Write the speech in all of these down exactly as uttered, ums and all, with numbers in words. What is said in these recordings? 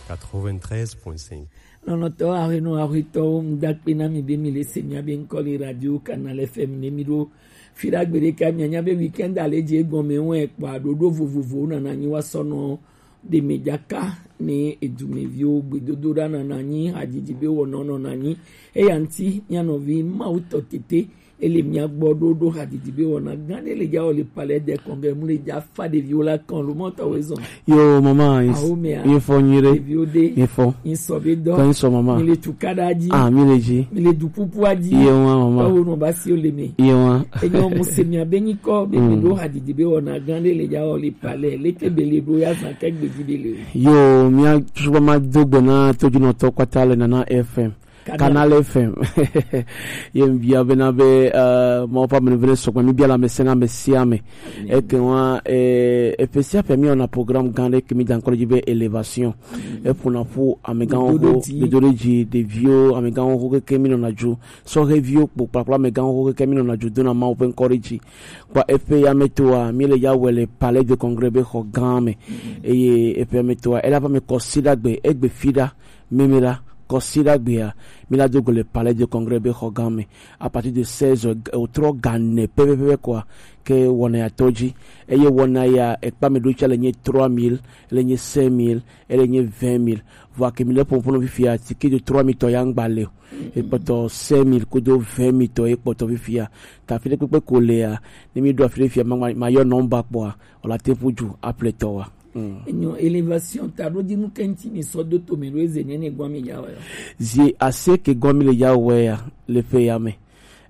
quatre-vingt-treize point cinq. Nɔnɔtɔ ahenu ahwetɔwo, ŋdakpe na mi be mi le se mia be ŋkɔ le radio Canal F M ne mi ɖo. Fi ɖagbe ɖeka mianya be weekend ale dze egɔme wɛ kpɔ aɖoɖo vovovowo nana nyi wa sɔ nɔ ɖe me dzaka ne edumeviwo gbedodo ɖa nana nyi hadzidzi be wɔnɔ nɔna nyi. Eya ŋti mia nɔvi Mawu tɔ tete ele mia gbɔ ɖo ɖo hadidi be wɔna gã ɖe le dza wɔ le Palais des Congrès mu le dza fa ɖeviwo la kɔn lo mɔtɔ wo zɔn. Yo mama, awo mea, ye fɔ nyuie ɖe. Ɖeviwo ɖe ye fɔ. Ŋsɔ be dɔ. Kɔ ŋsɔ mama. Mi le tukaɖa dzi. Ah, mi le dzi. Mi le dupupua dzi. Ye wa mama. Awo nɔ ba si o le me. Ye wa. Enyo mu se mia be nyikɔ be mi ɖo hadidi be wɔna gã ɖe le dza wɔ le Palais. Leke be le ɖo ya zan ke gbedi be le. Yo, mia suba ma do gbe na tojunɔtɔ kpata le Nana F M. Canal F M. Ye m bia bena be, eh, Mawu ƒe amenuveve sɔgbɔ mi bia le ame sia ame. Eke wa, eh, eƒe sia ƒe mi wɔna programme gã ɖe ke mi da ŋkɔ ɖe dzi be élévation. Eƒona ƒu amegãwo ho, dodo ɖe dzi, ɖeviwo, amegãwo ho keke mi nɔna dzo. Sɔheviwo kpo kpakple amegãwo ho keke mi nɔna dzo dona Mawu ƒe ŋkɔ ɖe dzi. Kpa eƒe ya me toa, mi le ya wɔ le Palais de Congrès be xɔ gã me. Eye eƒe ya me toa, ela va me kɔ si ɖagbe, egbe fi ɖa. Mimi la, kɔsiɖagbea, mi la do go le Palais de Congrès be xɔ gã me. À partir de seize heures, o trɔ ga ne pɛpɛpɛ kɔa, ke wɔna ya tɔ dzi. Eye wɔna ya, ekpa me ɖo tsa le nye trois mille, le nye cinq mille, ele nye vingt mille. Vɔ ke mi le ƒoƒo nɔ fifia, ticket de trois mille tɔ ya ŋgba le o. Ekpɔtɔ cinq mille kodo vingt mille tɔ ye kpɔtɔ fifia. Ta fi ɖe kpekpe ko lea, ne mi ɖo afi ɖe fia, ma, ma, ma yɔ nɔmba kpɔa, o la te ƒu ju, aple tɔ wa. Mm. Enyo, élévation ta ɖo dzi nu ke ŋti mi sɔ do to mi ɖo eze nye ne gɔn mi ya wɔ ya. Zi ase ke gɔn mi le ya wɔ ya le ƒe ya me.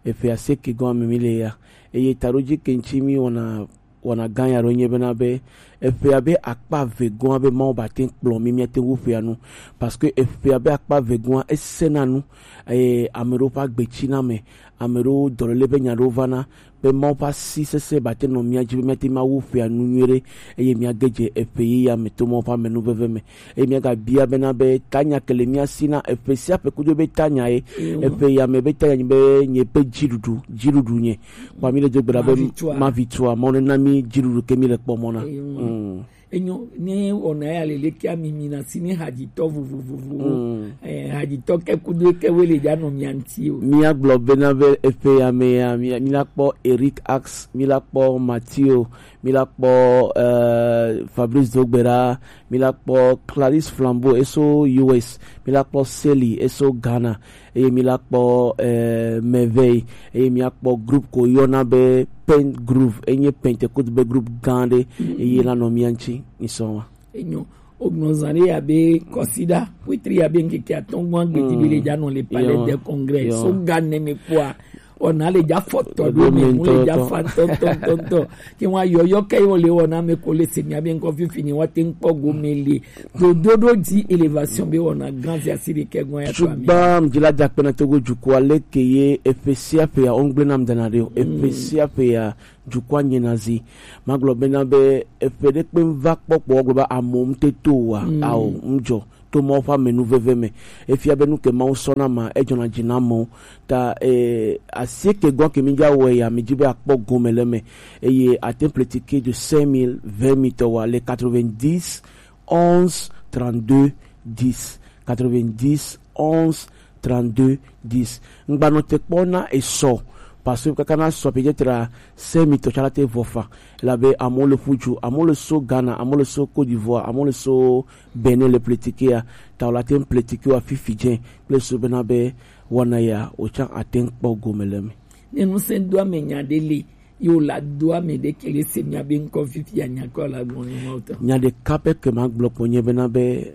Eƒe ase ke gɔn mi mi le ya. Eye ta ɖo dzi ke ŋti mi wɔna, wɔna gã ya ɖo nye bena be, eƒe ya be akpa ve gɔn be Mawu ba te kplɔ mi, mi ate wu ƒea nu. Parce que eƒe ya be akpa ve gɔn esena nu, eye ame ɖewo ƒe agbe tsi na me, ame ɖewo dɔléle be nya ɖewo va na, be Mawu ƒe asi sesẽ ba te nɔ mía dzi be míate ŋu awu ƒea nu nyuie ɖe, eye míage dze eƒe yeye me to Mawu ƒe amenuveve me. Eye míagabia bena be tanya ke le mía si na eƒe sia ƒe kudo be tanya ye, eƒe ya me be tanya nyi be nye ƒe dziɖuɖu, dziɖuɖu nye. Kpa mi le do gbe ɖa be mavi tsua, mavi tsua, Mawu nena mi dziɖuɖu ke mi le kpɔ mɔ na. Mm. Enyo, ne wɔna ya le leke ami mi na si ne hadzitɔ vovovovowo. Mm. Eh, hadzitɔ ke kudo ke we le dza nɔ mia ŋti o. Mía gblɔ bena be eƒe ya me ya, mi, mi la kpɔ Eric Ax, mi la kpɔ Matthew, mi la kpɔ, eh, Fabrice Dogbera, mi la kpɔ Clarisse Flambeau, eso U S, mi la kpɔ Sally, eso Ghana, eye mi la kpɔ, eh, Merveille, eye mi akpɔ groupe ko yɔna be Pen Groove, enye Pentecôte be groupe gã ɖe, eye la nɔ mia ŋti, mi sɔ wa. Enyo, o gbɔn zan ɖe ya be kɔsiɖa, wetri ya be ŋkeke atɔ̃ gbɔn agbedi be le dza nɔ le Palais des Congrès. So ga ne me kpɔa, ona le dza fɔtɔ ɖo me, mu le dza fa tɔntɔntɔntɔ. Ke wa yɔyɔ ke wo le wɔna me ko le se mia be ŋkɔ fifi ni wa te ŋkpɔ go me le. Dodo ɖo dzi élévation be wɔna gã zia si ɖe ke gɔn ya to ami. Tugba mdzi la dza kpena Togo dukɔa leke ye eƒe sia ƒe ya, o ŋgble nam dana ɖe o. Eƒe sia ƒe ya, dukɔa nye na zi. Magblɔ bena be eƒe ɖe kpe va kpɔ kpɔ gblɔ be amewo ŋte to wa, ao, ŋdzɔ to Mawu ƒe amenuveve me. Efia be nu ke Mawu sɔ na ma, edzɔna dzi na amewo. Ta, eh, asieke gɔn ke mi dza wɔ ya, mi dzi be akpɔ gome le me. Eye ate ŋple ticket de cinq mille, vingt mille tɔ wa le quatre-vingt-dix, onze, trente-deux, dix. Quatre-vingt-dix, onze, trente-deux, dix. Ŋgbanɔ te kpɔ na esɔ, parce que kaka na sɔ peut-être cinq mille tɔ tsã la te vɔ fa. Elabe amewo le ƒu dzu, amewo le so Ghana, amewo le so Côte d'Ivoire, amewo le so Benin le politique ya, ta wo la te ŋu politique wa fifi dze kple so bena be wɔna ya wo tsã ate ŋu kpɔ gome le me. Ne ŋusẽ do ame nya ɖe le, ye wo la do ame ɖe ke le se mia be ŋkɔ fifi ya nya kɔ la gbɔn ni ma wo tɔ. Nya ɖeka pɛ ke ma gblɔ kpɔ nye bena be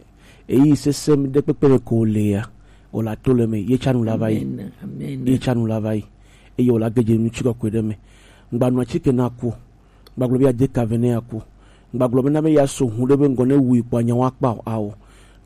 eyi sesẽ ɖe kpekpe me ko le ya, o la to le me, ye tsanu la va yi. Amen, amen. Ye tsanu la va yi. Eye o la ge dze nu tsi kɔkɔe ɖe me. Ŋgbanɔ atike na ku. Ŋgbagblɔ be ya de ka ve ne ya ku. Ŋgbagblɔ be na be ya so hu ɖe be ŋgɔ ne wui kpɔ anya wa kpa o, ao.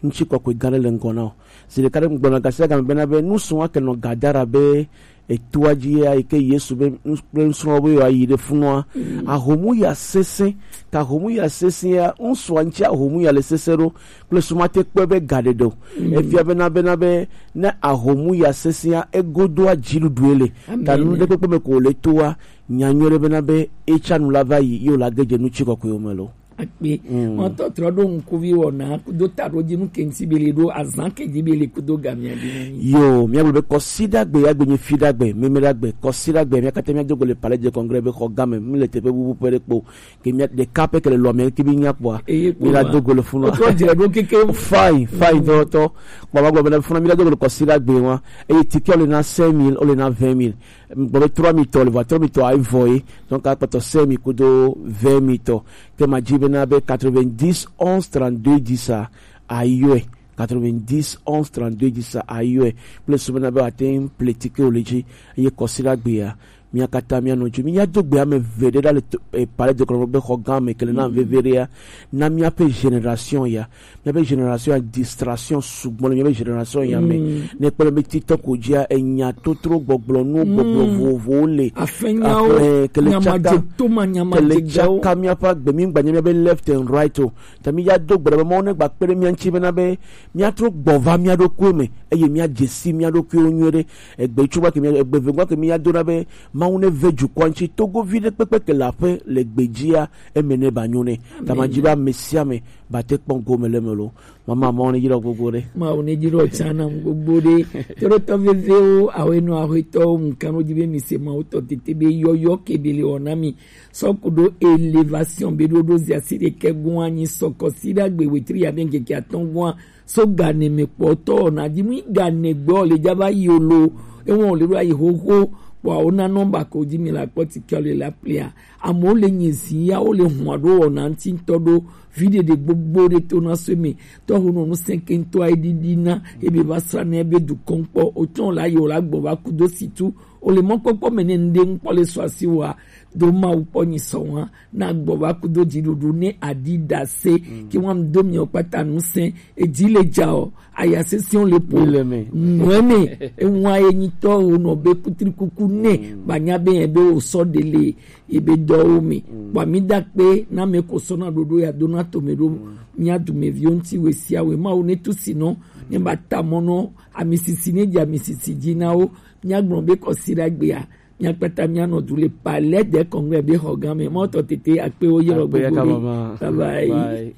Ŋtsi kɔkɔe gã ɖe le ŋgɔ na o. Zi ɖeka ɖe ŋgblɔ na gasi agame bena be nu sɔ wa ke nɔ Gadara be etoa dzi ya yi ke Yesu be nus-, kple nusrɔ̃lawo be yewoayi ɖe funua. Ahomu ya sesẽ, ka ahomu ya sesẽ ya, ŋsua ŋtsi ahomu ya le sesẽ ɖo, kple suma te kpɔe be gaɖeɖe o. Efia bena, bena be ne ahomu ya sesẽ ya, egodoa dziɖuɖue le. Ta nu ɖe kpekpe me ko le toa, nya nyuie ɖe bena be etsanu la va yi, ye wo la ge dze nu tsi kɔkɔewo me lo. Akpe. Mm. Mɔtɔ trɔ ɖo ŋkuvi wɔna do ta ɖo dzi nu ke ŋuti be le ɖo azan ke dzi be le kudo gamia ɖi na mi. Yo, mía gblɔ be kɔsiɖagbe ya gbe nye fiɖagbe, memeɖagbe, kɔsiɖagbe, mía katã mía do go le Palais de Congrès be xɔ game, mi le teƒe bubu ƒe ɖe kpo. Ke mía ɖeka pɛ ke le lɔ mɛ ke bi nya kpɔa. Eye kpo mi la ma. Do go le funu. Otrɔ dze ɖo keke. Fine, fine, mm. Tɔ, tɔ. Kpɔ ma gblɔ be na funu mi la do go le kɔsiɖagbe wa. Eye ticket le na cinq mille, o le na vingt mille. Gbɔ be trois mille tɔ le vɔ, trois mille tɔ ayi vɔ ye. Donc, akpɔtɔ cinq mille kudo vingt mille tɔ. Ke ma dzi bena be quatre-vingt-dix, onze, trente-deux, dix a, ayɔe. Quatre-vingt-dix, onze, trente-deux, dix a, ayɔe. Kple su bena be ate ŋu ple ticket o le dzi. Eye kɔsiɖagbe ya, mía katã mía nɔ dzi. Mía do gbe ame eve ɖe ɖa le to-, eh, Palais de Congrès be xɔ gã me ke le na veve ɖea. Na míaƒe génération ya. Míaƒe génération ya, distraction sugbɔ le míaƒe génération ya me. Mm. Ne kpɔe be TikTok ko dzia, enya totro gbɔgblɔ nu, mm, gbɔgblɔ vovovowo le. Afenyawo, aƒe, ke le tsaka, nyamadzetoma, ke le nyamadzegawo. Tsaka míaƒe agbe, mi gba nya míabe left and right o. Ta mi ya do gbe ɖa be Mawu ne gba kpe ɖe mía ŋuti bena be míatrɔ gbɔ va mía ɖokuiwo me, eye míadze si mía ɖokuiwo nyuie ɖe. Egbe tso gba ke mía, egbe ve gba ke mía do na be Mawu ne ve dukɔa ŋuti, Togovi ɖe kpekpe ke le aƒe le gbe dzia, eme ne ba nyo nɛ. Amen. Ta ma dzi be ame sia ame ba te kpɔ gome le me lo. Mama, Mawu ne dzi ɖɔ gbogbo ɖe. Mawu ne dzi ɖɔ tsã nam gbogbo ɖe. Toɖotɔ vevewo, awo enɔ aho etɔwo, ŋkan ɖo dzi be mi se Mawu tɔ tete be yɔyɔ ke be le wɔ na mi. Sɔ ko ɖo élévation be ɖo ɖo zi asi ɖekɛ gɔn anyi sɔ kɔsiɖagbe wetri ya be ŋkeke atɔ̃ gɔn so gane me kpɔtɔ na dzi mu gane gbɔ le dza va yi o lo. Ewɔn le ɖo ayi xoxo kpɔ awo na nɔmba ko dzi mi la kpɔ ti kɛ le la plia. Amewo le nyi zi ya wo le hua ɖo wɔna ŋuti ŋutɔ ɖo vi ɖeɖe gbogbo ɖe to na so me tɔ ho nɔ nu sɛnkɛntɔ ayi ɖiɖi na ebe va sra na ebe dukɔn kpɔ o tsɔn la yi o la gbɔ va kudo situ o le mɔkpɔkpɔ me ne ŋɖe ŋkpɔ le sɔ asi wa do Mawu kpɔ nyi sɔ wa na gbɔ va kudo dziɖuɖu ne aɖi ɖase. Mm. Ki wa do mi o kpata nu sɛn edzi le dza o aya sesiɔn le po. Mi le me. Nɔɛ me ewa ye nyitɔ o nɔ be kutrikuku ne. Mm. Ba nya be yɛ be o sɔ de le ebe dɔwo me. Mm. Kpɔ mi da kpe na me ko sɔ na ɖoɖo ya do na to me ɖo. Mm. Mía dumeviwo ŋuti we sia we Mawu ne tu si nɔ ne ba ta mɔ nɔ amisisi ne dze amisisi dzi na wo. Míagblɔ be kɔsiɖagbea, míakpata míanɔ du le Palais des Congrès be xɔ gã me. Mɔtɔ tete akpewo yɔ. Akpe gbogbo ya ka ɖe mama. Bye bye. Bye.